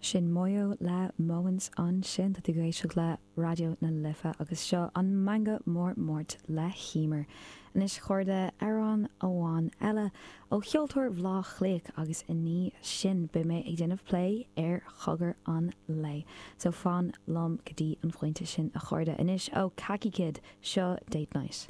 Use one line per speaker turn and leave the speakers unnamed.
Sin Moyo le Moments ansin. Tá tú ag éisteacht le Raidió na Life agus seo an Meangadh Mór Máirt le hEmer. Anois a chairde, amhrán amháin eile ó cheoltóir Bhaile Átha Cliath agus i ndiaidh sin beidh mé ag déanamh plé ar chogar an lae. So fan liom go dtí an phointe sin a chairde. Anois ó Khaki Kid, seo Date Night.